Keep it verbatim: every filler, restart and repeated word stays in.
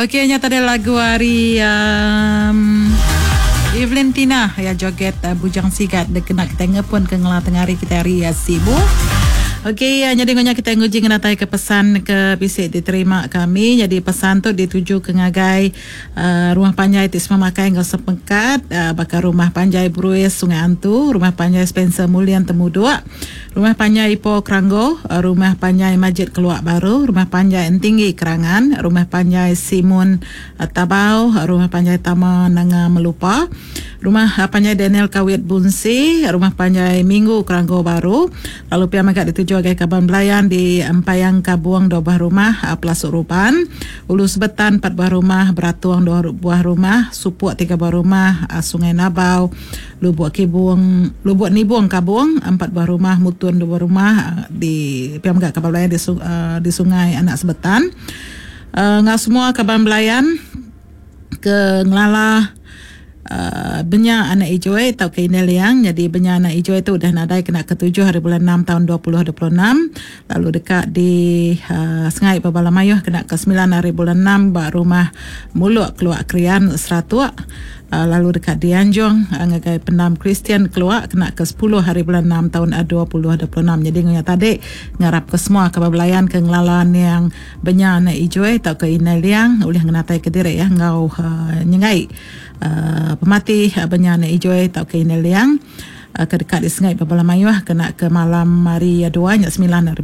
Okey, nya tadi lagu ari um, Evelyn Tina ya joget uh, Bujang Sigat dikena kita ngepun ke ngela tengah hari kita hari ya Sibu. Okey, ya, jadi ngonya kita nguji ngenatai ke pesan ke bisi diterima kami. Jadi pesan tu dituju ke ngagai uh, rumah panjai ti semua makai enggau sepengkat uh, baka rumah panjai Bruis Sungai Antu, rumah panjai Spencer Mulian Temuduk, rumah panjai Ipoh Keranggo, uh, rumah panjai Majid Keluak Baru, rumah panjai Entinggi Kerangan, rumah panjai Simun uh, Tabau, rumah panjai Tama Nanga Melupa, rumah uh, panjai Daniel Kawit Bunsi, rumah panjai Minggu Keranggo Baru, lalu pia mega dituju agai kaban belayan di Empayang Kabuang dua buah rumah, uh, Pelasuk Ruban, Ulu Sebetan empat buah rumah, Beratuang dua buah rumah, Supuk tiga buah rumah, uh, Sungai Nabau, Lubuk Kibung, Lubuk Nibung Kabung empat buah rumah, Mutun dua buah rumah, uh, di pia mega kaban belayan di, uh, di Sungai Anak Sebetan. Uh, ngau semua kaban belayan ke ngelala Uh, benya anak ijoi atau ke Indah Liang. Jadi benya anak ijoi itu udah nadai kena ketujuh hari bulan enam tahun dua puluh dua puluh enam, lalu dekat di uh, Sengai Babala Mayuh kena ke sembilan hari bulan enam ba rumah Muluk Keluak Krian Seratuk, uh, lalu dekat di Anjung uh, ngagai Pendam Kristian Keluak kena ke sepuluh hari bulan enam tahun dua puluh dua puluh enam. Jadi ngonya tadi ngarap ke semua kabar belayan ke ngelalan yang benya anak ijoi atau ke Indah Liang ulih ngenatai ke diri ya ngau uh, nyengai Uh, pemati uh, benya anak ijoi atau ke Indah Liang uh, ke dekat di Sengai Babala Mayuh kena ke malam hari dua nya sembilan hari